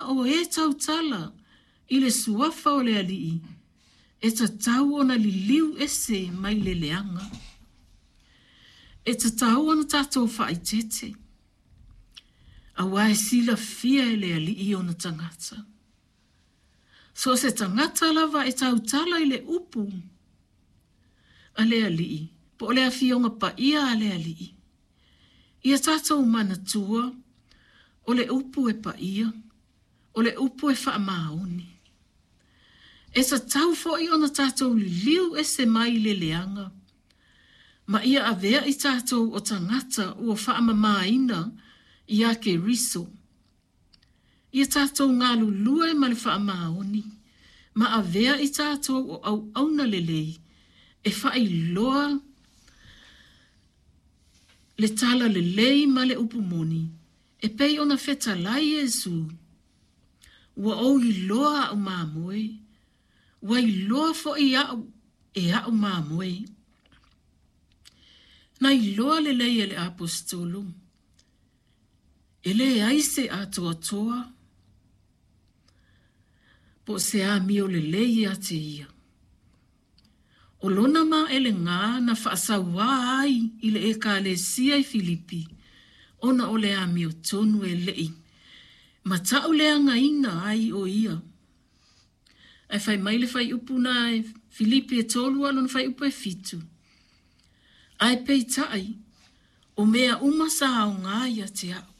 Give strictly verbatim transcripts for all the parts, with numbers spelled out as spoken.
o e tautala i le suafa o le Alii, e tatau ona liliu ese mai le leaga. E tatau ona tatou faaeteete, aua e silafia e le Alii ona tagata. So o se tagata lava e tautala i le upu a le Alii, po o le Afioga Paia a le Alii, ia tatou manatua o le upu e paia, o le upu e faamaoni. E tatau foi ona tatou liliu ese mai i le leaga, ma ia avea i tatou o tagata ua faamamaina ia Keriso. Ia tatou galulue ma le faamaoni, ma avea i tatou o auauna lelei e faailoa le tala lelei ma le upu moni, e pei ona fetalai Iesu, ua ou iloa a'u mamoe, ua iloa foi a'u e a'u mamoe. Na iloa lelei e le Aposetolo, e leai se atoatoa po o se amio lelei ia te ia. O lona maelega na faasauā ai i le Ekalesia i Filipi, ona o le amiotonu e le'i matauleagaina ai o ia. Ae fai mai le fuaiupu na e Filipi e tolu a o lona fuaiupu e fitu. Ae peitai, o mea uma sa aoga ia te a'u.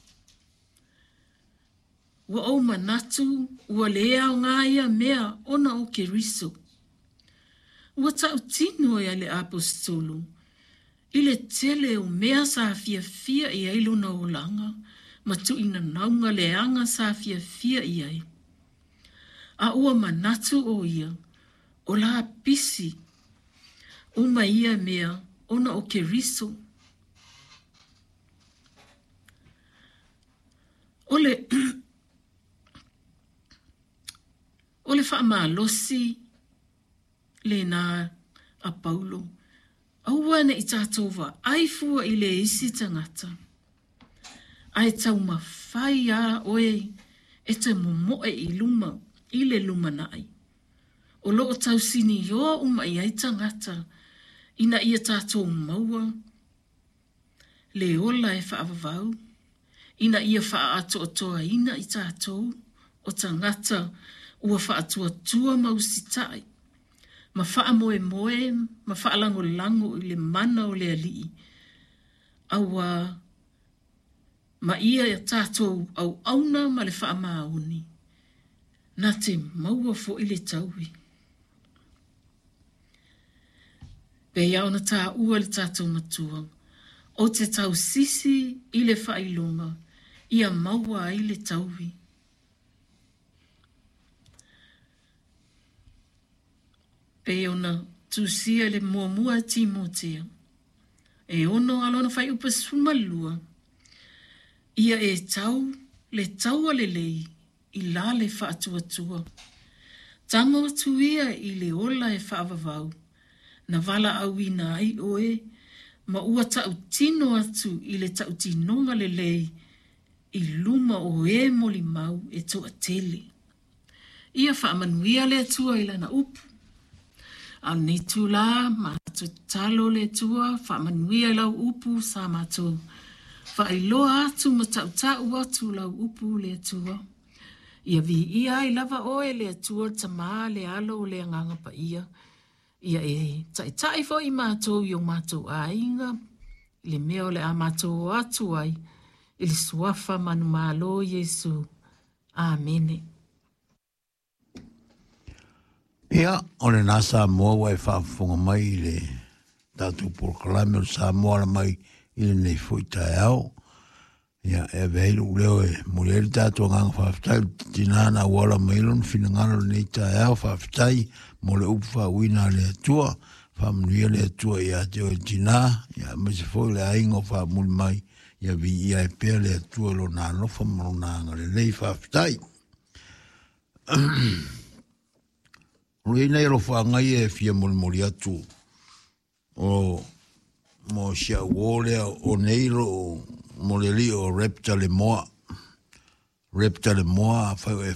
Ua ou manatu ua lē aoga ia mea ona o Keriso. Ua tautino e le Aposetolo i le tele o mea sa fiafia i ai lona olaga ma tuuinanauga leaga sa fiafia i ai. A ua manatu o ia, o lapisi uma ia mea ona o Keriso. O le, o le faamalosi lena a Paulo, aua ne i tatou vaai fua i le isi tagata, ae taumafai lava oe e te momoe i luma i le lumanai. O loo tausinioa uma i ai tagata ina ia tatou maua le ola e faavavau, ina ia faaatoatoaina i tatou o tagata ua faatuatua ma usitai, ma faamoemoe ma faalagolago i le mana o le Alii, aua ma ia tatou auauna ma le faamaoni, na te maua foi le taui. Pei lava ona taua le tatou matua, ou te tausisi i le faailoga, ia maua ai le taui. Pei ona tusia le muamua e Timotea, e ono a lona fuaiupu e sefulu ma lua, ia e tau le taua lelei i la le faatuatua. Tago atu ia i le ola e faavavau, na valaauina ai oe, ma ua tautino atu i le tautinoga lelei i luma o e molimau e toatele. Ia faamanuia le Atua i lana upu. A o lenei itulā, matou tatalo le Atua, faamanuia i lau upu sa matou faailoa atu ma tautau atu lau upu le Atua. Ia viia ai lava oe le Atua le Tama, le Alo, le Agaga Paia. Ia e taitai foi matou i o matou aiga, i le mea o le a matou o atu ai, i le suafa manumalo Iesu. Amene. Ia, o lena Samoa ua e faafofoga mai i le tatou polokalame o le Samoa Ala Mai i lenei foi taeao. Ia, e ave ai lou leo e momoli ai le tatou agaga faafetai i le tinā na auala mai lona finagalo lenei taeao. Faafetai mo le upu faauuina a le Atua. Faamanuia le Atua ia te oe tinā, ia aemaise foi le aiga o faamuli mai. Ia viia ai pea le Atua i lona alofa ma lona agalelei. Faafetai. O le nei alofaga ia e fia molimoli atu o mo si au uō lea o nei lo mo le alii o Raptor Lemoa. Raptor Lemoa, afai o e